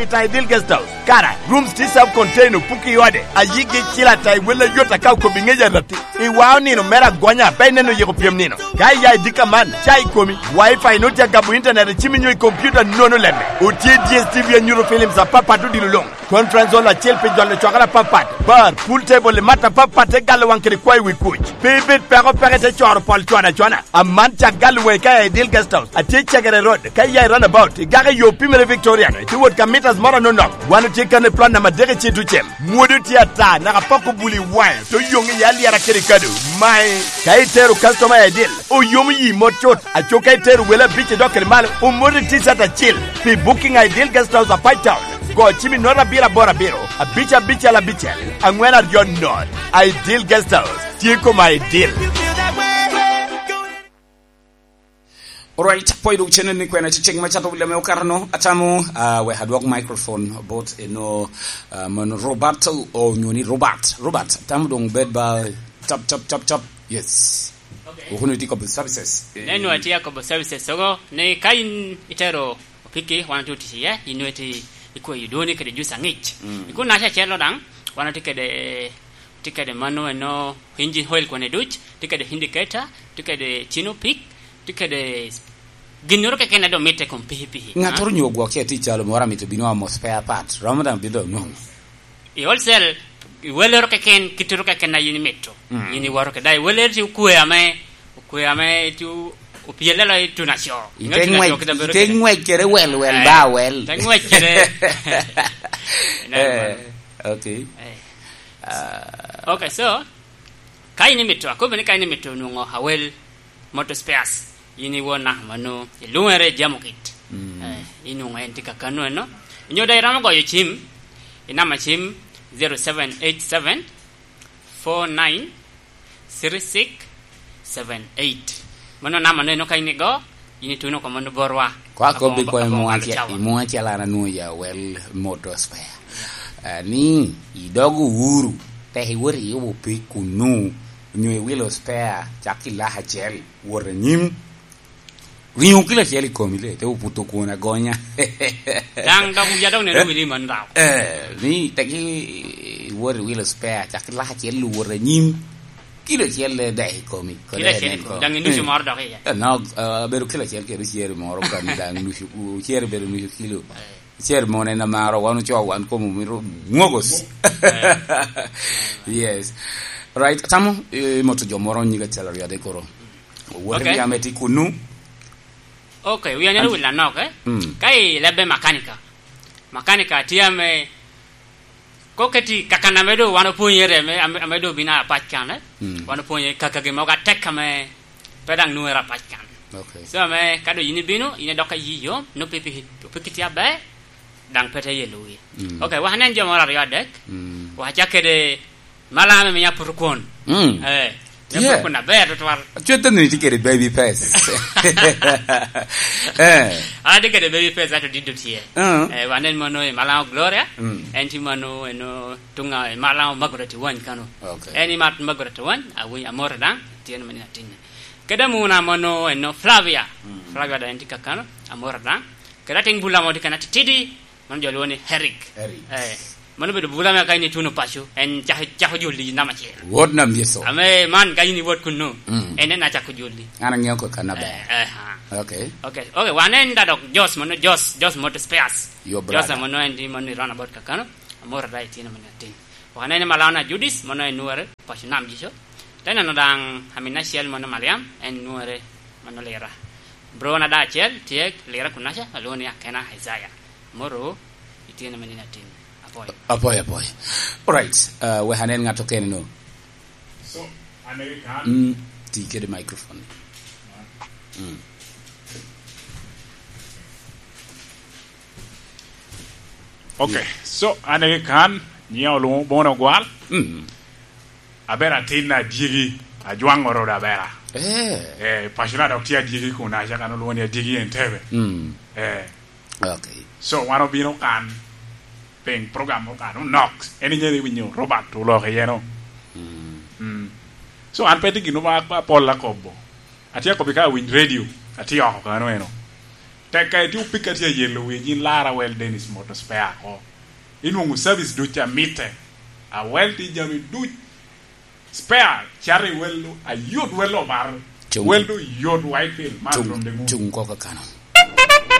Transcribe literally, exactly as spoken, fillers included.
I ta i Dil Guest House, kara, rooms tye self contained, opuki i ode, ayigi cil ata i wel ayot aka okobo i ŋec arati. I wao nino mere agonya, pe ineno yiko pyem nino. Ka iya i dika man, ca i komi, wifi nwoŋo tye agabo internet i cimi nyo i computer nono lemme. Otye D S T V anyuto films apapat odilo luŋ. Conference hall acel pi jolo cwakere apapat. Bar, pool table i mat apapat te galo waŋ kede kwayo wi kuc. Pe ibed peko peke te coro pol cwana cwana. Aman cak galo waŋi ka i Dil Guest House. Atye Cegere Road, ka iya i roundabout, igako i yo pimere Victorian, itye wot ka mitas moro anonok. Wan otye kan i plot namba adek i Citucem. Mwodo tye ata, naka pok obuli waŋe, to yoŋ iye alyera kede kado. Mae, ka itero customer i Dil, oyomo yi mot cut. Aco ka itero wele abic i dok kede malo, omoti T-shirt acil. Pi booking i Dil Guest House a Pine Town, go cim i note abiro aboro abiro, abic abicel abicel, aŋwen aryo note. I Dil Guest House, tye koma i Dil. Alright, pwod dok channel ni kwena cicek ma cato lame okato no, atamo, ah, wek adwok microphone bot eno, ah, mon Roberto, o nyoni Robert. Robert, atamo dong bed ba chop, chop, chop, chop. Yes. Okay. Okuno itye kobbi services. Ne nwa tye akobo services ogo, ne ka in itero opiki, wan otye otic iye, in nwe tye ikweyo dwoni kede juice aŋic. Mm. Kun naca acel lo daŋ, wan otye kede, tye kede mano eno engine oil kwane duc, tye kede indicator, tye kede tino pik, tye kede ginnoro keken a doŋ mitte kom pikipiki. Ŋattoro onyo gwok ce tye calo moro amito bino omo spare part, romo daŋ bino doŋ nwoŋo. I wholesale, i welloro keken, kittoro keken a yin imito. Mm. Yin iwoto kede, i welloro tye okwe ame, okwe ame tye o-, opyelle lo i tunaco. Ite ŋwec, ite ŋwec kede wel, wel ba wel. Ite ŋwec kede. Eh, okay. Eh. Ah. Okay, so, ka in imito, akobo ni ka in imito nwoŋo Awel Motor Spares, in iwona mano, ilwongere Jamokit. Mm. Eh, inwoŋo en tye kakano eno. Onyo daŋ iromo goyo cim, i namba cim zero seven eight seven four nine three six seven eight. Mano namba no eno ka in igo, in ituno oko mano borwa. Kwa kobbi kwa i mwa ce-, i mwa calo an anwoŋo ya wel Motor Spare. Ah, ni idogo uru, tek iwot iyubo pig kunu, onyo iwilo spare, cak ki lak acel, wot anyim. Ringo kilo acel i komi le, te obuto kwon agonya. Daŋ dok ya dok neno wili man daw. Eh, ni tegi iwot iwilo spare, cak lak acel iwot anyim. Kilo acel le dek i komi. Kilo acel i komi. Daŋ inucu moro dok iye. Eh, no, eh, abedo kilo acel kede oceri moro kan daŋ nucu, oceri bedo nucu kilo. Eh. Oceri moro en amaro, wan ocoo wan komo mito mwogos. Eh. Yes. Right, tamo, eh, imoto jo moro nyinge acel aryo adek koro. Owot i ame tye kunu. Ok, wi anyalo wil anok, eh? Mm. Ka i lebbe makanika. Makanika tye ame, ko keti kakan ame do wan opwonyere ame, ame, ame do bino apac kan, eh? Mm. Wan opwonye kaka gin mogo atek ame pe daŋ nwere apac kan. Ok. So ame ka do yin ibino, yin idok ayi yo, no pipi, pipi tye aber, daŋ pe te yelo wi. Mm. Ok, wak anen jo moro aryo adek. Mm. Wak acak kede Malaŋ ame miyo aputo kwon. Mm. Eh, miyo aputo kwon aber tutwal. Cwete ni tye kede baby face. Eh. An atye kede baby face, ato diddo tye. Uh-huh. Eh, wanen mono i Malaŋo Gloria. Mm. En tye mono eno tuŋa i Malaŋo Margaret Wany kano. Ok. En i mat Margaret Wany, awi-, amore daŋ, tye ni manina tinne. Kede amuna mono eno Flavia. Mm. Flavia daŋ en tye kakano, amore daŋ. Kede atiŋ bula mo tye kena titidi, Mano jo lwongo ni Eric. Eric. Eh, mano obedo bula me ka in ituno paco, en cako, cako joli i namba acel. Wot nam Yecu. Ame man ka in iwot kunnu, mm, en en acako joli. An aŋeo ko kan aber. Eh, eh, ha. Ok. Ok, ok, wan en da dok Jos, mano Jos, Jos Motor Spares. Yo, Jos brother. Mano en di mano i roundabout kakano, amoro da itino mano atin. Wan en Malana Judith, mano en nwere paco nam jico. Te neno daŋ amin acel mano Mariam, en nwere mano Lira. Bro na da acel tye Lira kunaca, alwongo ni Akena Isaiah. Moro, itye na manini atin. Apoyo. Apoyo, apoyo. Alright, uh, wek anen ŋat okene no. So, an eri kan. Mm, ti kede microphone. Mm. Ok, so, an eri kan, nyiŋa olwoŋo Bono Gwal. Mm. Abera atin adyegi, ajwaŋ oro da abera. Eh. Eh, pacona dok tye adyegi kunaca, kan olwoŋo ni adyegi Entebbe. Mm. Eh. Ok. So, wan obino kan, piny program mo kan onok. En inyalo winyo Robert oloko iye no. Mm. Mm. So, an pe tye gin ma apol akobo. Atye akobo ka awiny radio, atye oko kano eno. Tekka iti opika tye ayelo wi nyin lara wel Dennis Moto spare ako. Inwoŋo service duc a mitte. A wel ti jami duc. Spare cari welu, a yot welu obar. Welu yot Whitefield, man rom de mu. Cung koko kano.